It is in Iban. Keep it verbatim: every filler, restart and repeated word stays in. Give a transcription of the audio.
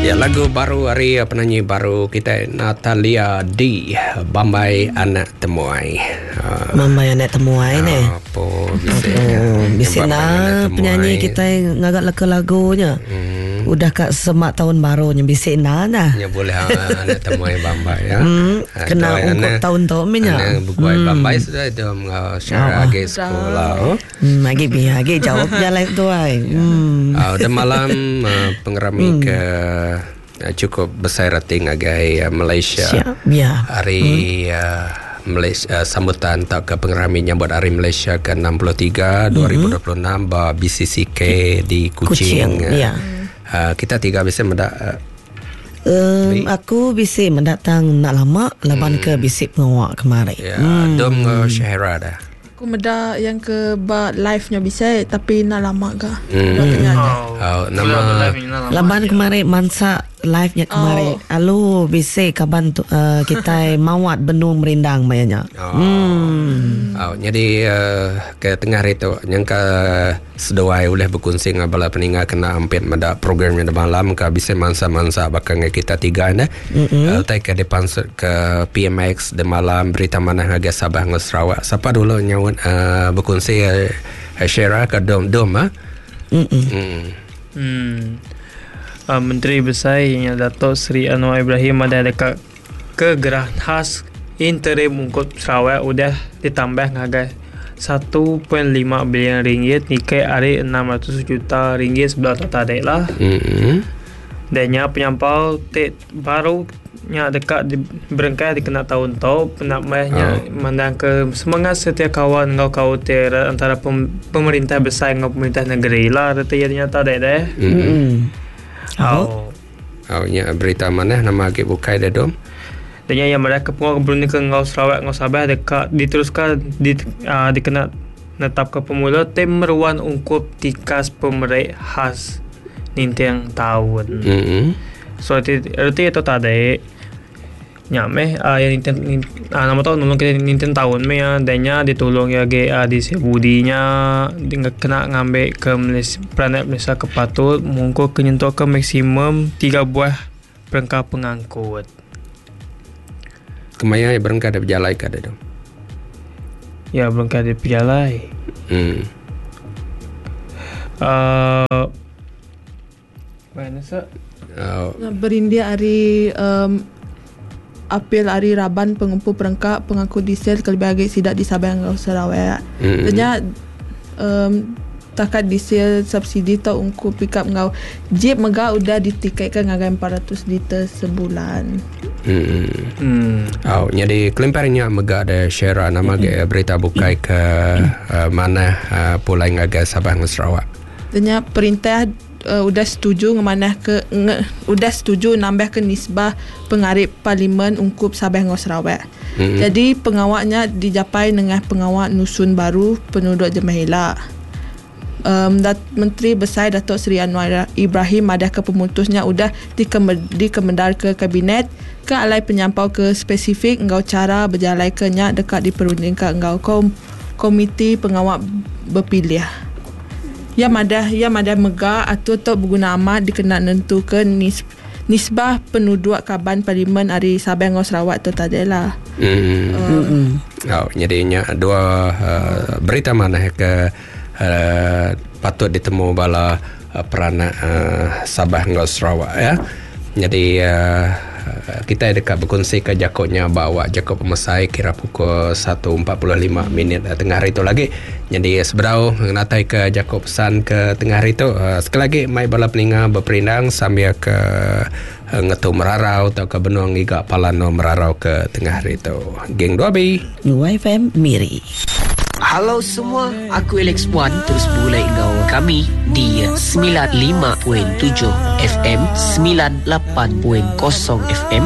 Ya, lagu baru hari penyanyi baru kita Natalia D, Bambai Anak Temuai. Uh, Bambai Anak Temuai ni. Apa bisa? Oh, bisa na penyanyi kita ngagak leka lagunya. Hmm. Udah kat semak tahun barunya bisa na nah. Ya boleh anak temuai Bambai ya. Hmm, kena ungkup tahun tu minya. Anak bukuai hmm. Bambai sudah itu secara agi sekolah. Hmm, agi bi agi jawab jalan tu ai. Hmm. Uh, dan malam uh, pengerami hmm. ke cukup besar rating agai uh, Malaysia. Siap, ya. Hari hmm. uh, Malaysia uh, sambutan tak ke pengerami nyambut Hari Malaysia ke enam puluh tiga dua ribu dua puluh enam ba B C C K di Kuching. Kuching ya. Uh, kita tiga bisa mendak uh, um, aku bisa mendatang nak lama laban hmm. ke bisik pengawak kemarin. Ya, hmm. Dom uh, Syahira dah. Aku meda yang ke ba live-nya bisa tapi nak lama ga. Hmm. Oh. Oh, nama laban kemarin mansa live-nya kemarin. Oh. Alu bisa kaban tu, uh, kita mawat benung merindang mayanya. Oh. Hmm. Oh, jadi uh, ke tengah hari tu nyangka seduai oleh berkongsi dengan bala peningat kena ampit meda programnya malam ke bisa mansa-mansa bakal dengan kita tiga ne. Mm-hmm. Uh, tai ke depan ke P M X de malam berita mana harga Sabah dengan Sarawak. Siapa dulu nyaut uh, berkongsi uh, share ke dom dom ah. Mm. Mm. Hmm. Uh, Menteri Besar yang Dato' Seri Anwar Ibrahim ada dekat ke Gerah Khas Interim Ungkup Sarawak udah ditambah ngagai satu perpuluhan lima bilion ringgit nikai ari enam ratus juta ringgit sebelah tadi lah. Mm-hmm. Dan nya penyampau te baru nya dekat di, berengkai dikena tahun tau penamahnya oh. Mandang ke semangat setia kawan ngau kau ter antara pem, pemerintah besar dengan pemerintah negeri lah reti nya tadi deh. Mm-hmm. Oh. Oh, nya berita mana nama agi bukai dah dom. Dan yang mereka penguat Brunei ke ngau Sarawak ngau Sabah dekat diteruskan di uh, dikena netap ke pemula tim meruan ungkup tikas pemerik khas nintiang tahun. Mm-hmm. So reti itu tadi nya meh uh, yang nintiang uh, nama tahu nolong kita nintiang tahun meh ya dannya ditolong ya ge uh, di sebudinya dengan kena ngambil ke Malaysia planet Malaysia ke patut mungkin kenyentuh ke maksimum tiga buah perengkap pengangkut. Kemaya ya berengkah ada berjalai ke ada dong? Ya berengkah ada berjalai. Hmm. Uh, mana sah? Uh, Berindia hari um, Apil hari Raban pengumpul perengkap pengangkut diesel kelebih agi sidak di Sabah dengan Sarawak. Mm. Ternyata um, takat diesel subsidi tau ungkup pick up ngau jeep mega udah ditiketkan ngagai empat ratus liter sebulan. Hmm. Hmm. Oh, jadi kelimparnya mega ada share nama mm. berita bukai ke uh, mana uh, pulai ngagai Sabah dengan Sarawak. Ternyata perintah Uh, udah setuju ngemanah ke nge, udah setuju nambah ke nisbah pengarip parlimen ungkup Sabah dengan Sarawak. Mm-hmm. Jadi pengawaknya dijapai dengan pengawak nusun baru penduduk Jemahila. Um, Dat, Menteri Besar Datuk Seri Anwar Ibrahim madah ke pemutusnya udah dikemed, dikemendar ke kabinet ke alai penyampau ke spesifik engkau cara berjalai ke nya dekat diperundingkan engkau kom, komiti pengawak berpilih. Ya madah ya madah mega atau tok berguna amat dikena nentu ke nis, nisbah penduduk kaban parlimen ari Sabah dengan Sarawak tu tadi lah. Hmm. Uh, oh, jadinya dua uh, berita mana ke uh, patut ditemu bala uh, peranak uh, Sabah dengan Sarawak ya. Jadi uh, kita dekat berkongsi ke jakoknya bawa jakok pemesai kira pukul satu empat puluh lima minit tengah hari itu lagi. Jadi seberau mengatai ke jakok pesan ke tengah hari itu uh, sekali lagi mai bala peninga berperindang sambil ke uh, ngetu merarau atau ke benung iga palano merarau ke tengah hari itu. Geng dua B U F M Miri. Halo semua, aku Alex Wan terus bergulai dengan kami di sembilan lima perpuluhan tujuh F M, sembilan lapan perpuluhan kosong F M